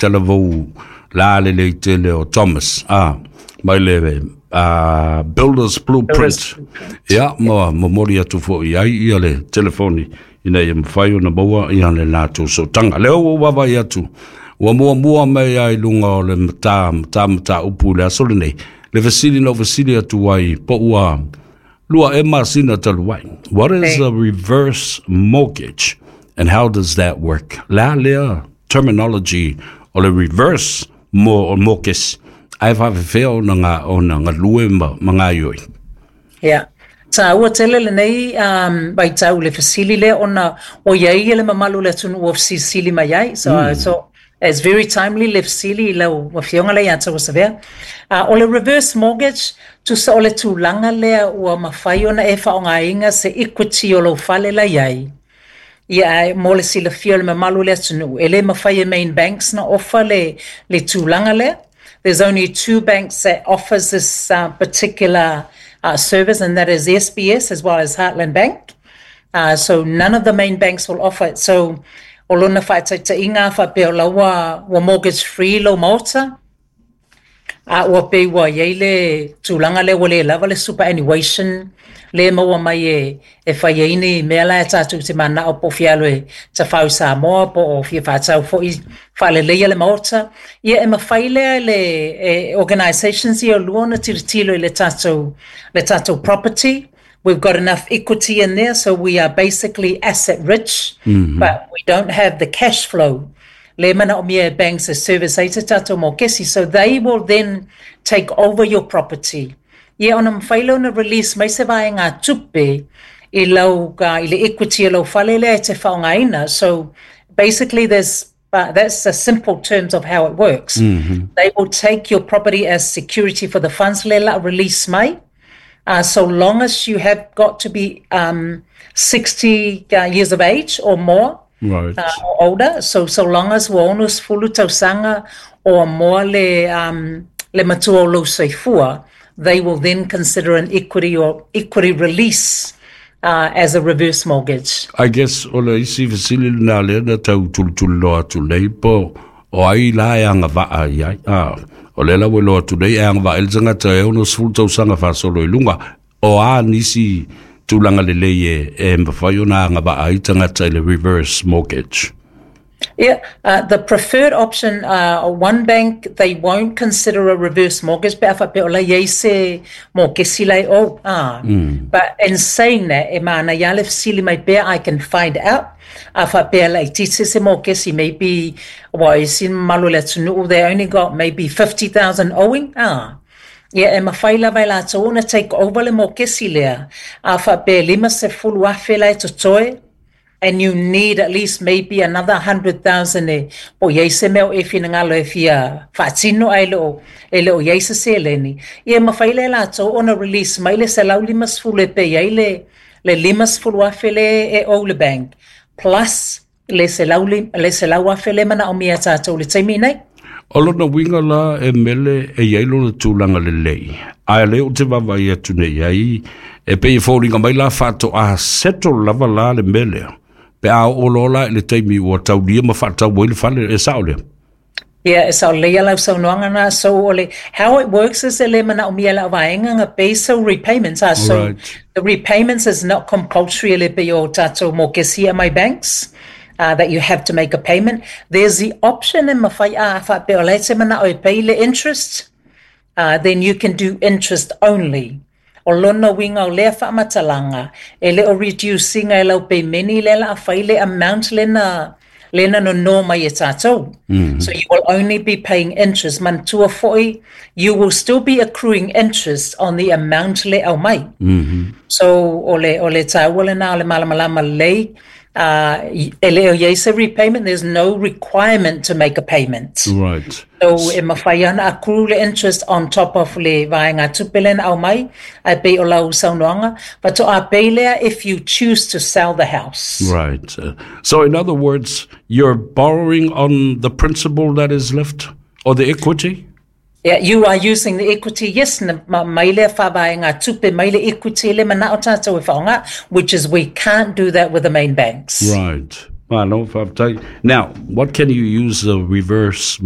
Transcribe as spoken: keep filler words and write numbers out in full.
Talavou la le le tele o Thomas ah mai le uh, Builders Blueprint. Ia ma momoli atu fo'i ai ia le telefoni ina ia mafai ona maua ia le latou sootaga. Lea ua ou vaavaai atu ua muamua mai ai luga o le matā matā mataupu i le aso lenei le fesili na ou fesili atu ai po ua lua e masina talu ai. What is a reverse mortgage and how does that work? Le a lea terminology o le reverse mo mortgage ae faafefea ona ga ona galue ma ma gaoioi? Ia, taua tele lenei um, vaitau le fesili lea ona o iai ia le mamalu o le atunuu ua fesilisili mai ai. So, mm. so it's very timely le fesili i lau afioga lea ia Tauasavea. Uh, o le reverse mortgage, tusa o le tulaga lea ua mafai ona e faaaogaina se equity o lou fale la iai. Ia ae mo le silafia o le mamalu o le atunuu, e le mafai e main banks na offer le, le tulaga lea. There's only two banks that offers this uh, particular uh, service, and that is S B S as well as Heartland Bank. Uh, so none of the main banks will offer it. So o lona faataitaiga faapea o la ua, ua mortgage free lou maota, a ua pei ua iai le tulaga lea ua le lava le superannuation le maua mai e, e fai ai ni mea la e tatou te manao po o fia alu e tafau i Samoa po o fia faatau foi faaleleia le maota. Ia e mafai lea le e, organisations ia lua ona tilotilo i le tatou, le tatou property. We've got enough equity in there, so we are basically asset rich, mm -hmm. but we don't have the cash flow le manaomia e banks e service ai se tatou mokesi. So they will then take over your property. Ia ona mafai lea ona release mai se vaega tupe i lau uh, i le equity o lau fale lea e te faaaogaina. So basically there's uh, that's the simple terms of how it works. Mm -hmm. They will take your property as security for the funds le la release mai. Uh, so long as you have got to be um, sixty uh, years of age or more, Right. uh, or older. So so long as ua ono sefulu tausaga or more le um, le matua o lou soifua, they will then consider an equity or equity release uh, as a reverse mortgage. I guess o le isi fesili lena lea na tau tulituliloa atu nei po o ai la e agavaa i ai. Ah, o lea la ua iloa atu nei e agavaa ai le tagata e ono sefulu tausaga faasolo i luga o a nisi tulaga lelei e, e mafai ona agavaa ai tagata i le reverse mortgage. Yeah, uh, the preferred option, uh, one bank, they won't consider a reverse mortgage, pe a faapea o la iai se mokesi lai oh, ah. Mm. But in saying that, e mana ia le fesili mai pea, I can find out. A faapea laitiiti se mokesi, maybe, wa i sin malu le atunuu, they only got maybe fifty thousand owing, ah. Ia e mafai lava e latou ona take over le mokesi lea. A faapea lima sefulu afe la e totoe, and you need at least maybe another one hundred thousand e po iai se mea o e finagalo e fia faatino ai le o e le o iai se seleni. Ia mafai le latou ona release mai le selau lima sefulu e pay ai le le lima sefulu afe le e o le bank plus le selau le selau afe le manaomia tatou le taimi nei. O lona uiga la e mele e iai lona tulaga lelei. Ae lea ou te vaavaai atu nei ai, e pei e foliga mai la faatoa settle lava la le mea lea pe a oo loa la i le taimi ua taulia ma faatau ai le fale e sao lea. Yeah, e sao lelei lau saunoaga na. So o le how it works is e le manaomia lau vaega ga pay so repayments are so Right. the repayments is not compulsory e le pei o tatou mokesi a mai banks. Uh, that you have to make a payment. There's the option e mafai a faapea o la e te manao e pay le interest, uh, then you can do interest only. O lona uiga o lea faamatalaga, e le o reduce-ina e lau pemeni le la fai le amount lena lena nono mai e tatou. Mm. So you will only be paying interest. Manatua foi, you will still be accruing interest on the amount le au mai. Mm -hmm. So o le, o le taua lena o le malamalama lelei, uh, e le o iai se repayment, there's no requirement to make a payment. Right. So e mafai ana accrue le interest on top of le vaega tupe lena au mai, ai pei o lau saunoaga, faatoa pay lea if you choose to sell the house. Right. Uh, so in other words, you're borrowing on the principal that is left or the equity? Yeah, you are using the equity, yes, na ma- mai lea faavaega tupe, mai le equity le manao tatou e faaaoga, which is we can't do that with the main banks. Right. Malo faafetai. Now, what can you use the reverse mortgage